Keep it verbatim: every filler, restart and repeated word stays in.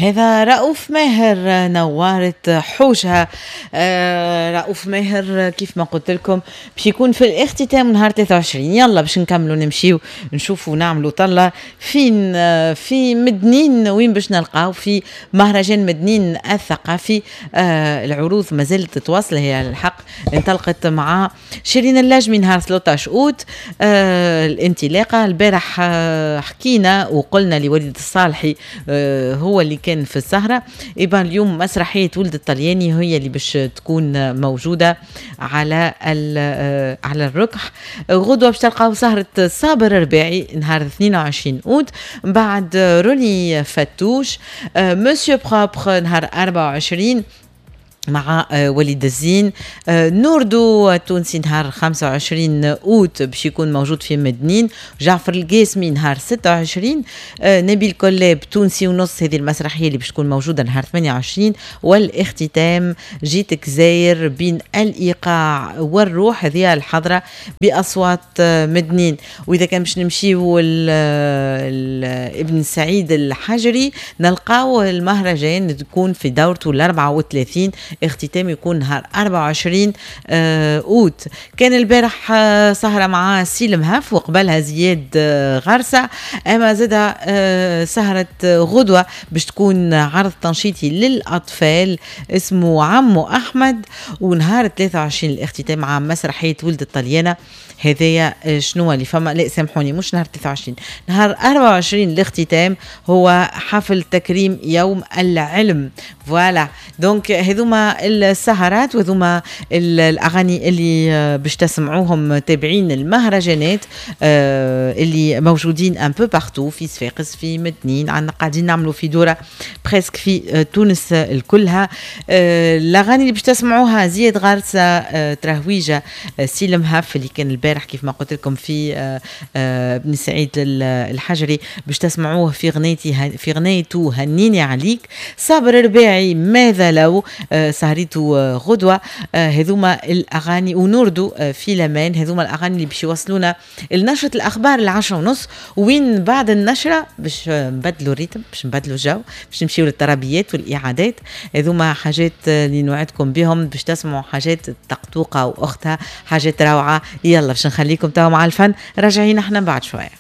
هذا رؤوف ماهر، نوارة حوشها. آه رؤوف ماهر كيف ما قلت لكم باش يكون في الاختتام نهار ثلاثة وعشرين. يلا باش نكملوا، نمشيو نشوفوا، نعملوا طلة فين آه في مدنين، وين باش نلقاو في مهرجان مدنين الثقافي. آه العروض ما زالت تتواصل. هي الحق انطلقت مع شيرين اللاجمي نهار ثلاثة عشر اوت آه الانطلاقة البارح آه حكينا وقلنا لوليد الصالحي آه هو اللي كان في السهرة. eh ben اليوم مسرحية ولد الطلياني هي اللي باش تكون موجودة على آه، على الركح. غدوة باش تلقاو سهرة صابر الرباعي نهار اثنين وعشرين أوت، بعد روني فتوش، Monsieur Propre نهار أربعة وعشرين مع آه، وليد الزين، آه، نوردو التونسي نهار خمسة وعشرين اوت باش يكون موجود في مدنين، جعفر القاسمي نهار ستة وعشرين، آه، نبيل كلاب تونسي ونص، هذه المسرحية اللي باش تكون موجودة نهار ثمانية وعشرين، والاختتام جيتك زاير بين الايقاع والروح، هذه الحضرة باصوات مدنين. واذا كان باش نمشيو ابن سعيد الحجري نلقاو المهرجان تكون في دورته ال أربعة وثلاثين، اختتام يكون نهار أربعة وعشرين آه، اوت. كان البارح آه، سهره مع سيلم هف وقبلها زياد آه، غرسه. اما زاد سهره غدوه باش تكون عرض تنشيطي للاطفال اسمه عمو احمد، ونهار ثلاثة وعشرين الاختتام مع مسرحية ولد الطليانه. هذايا شنو اللي فما. لا سامحوني، مش نهار ثلاثة وعشرين، نهار أربعة وعشرين الاختتام هو حفل تكريم يوم العلم. voilà، donc هذوما السهرات وهذوما الاغاني اللي آه، باش تسمعوهم تابعين المهرجانات آه، اللي موجودين un peu partout، في صفاقس، في مدنين، عندنا قاعدين نعملوا في دوره presque في آه، تونس الكلها. الاغاني اللي باش تسمعوها: زياد غارسه، ترهويجه، سيلم هاف اللي كان البارح كيف ما قلت لكم في بن سعيد الحجري، باش تسمعوه في غنيتي في غنيته هنيني عليك، صابر الرباعي ماذا لو، سهريته غدوه. هذوما الاغاني، ونوردو في لمان. هذوما الاغاني اللي باش يوصلونا لنشره الاخبار العشرة ونص، وين بعد النشرة باش نبدلوا ال rythme، باش نبدلوا الجو، باش نمشيو للطربيات والاعادات. هذوما حاجات اللي نوعدكم بهم، باش تسمعوا حاجات طقطوقه واختها، حاجات روعه. يلا باش نخليكم توا مع الفن، راجعين احنا بعد شويه.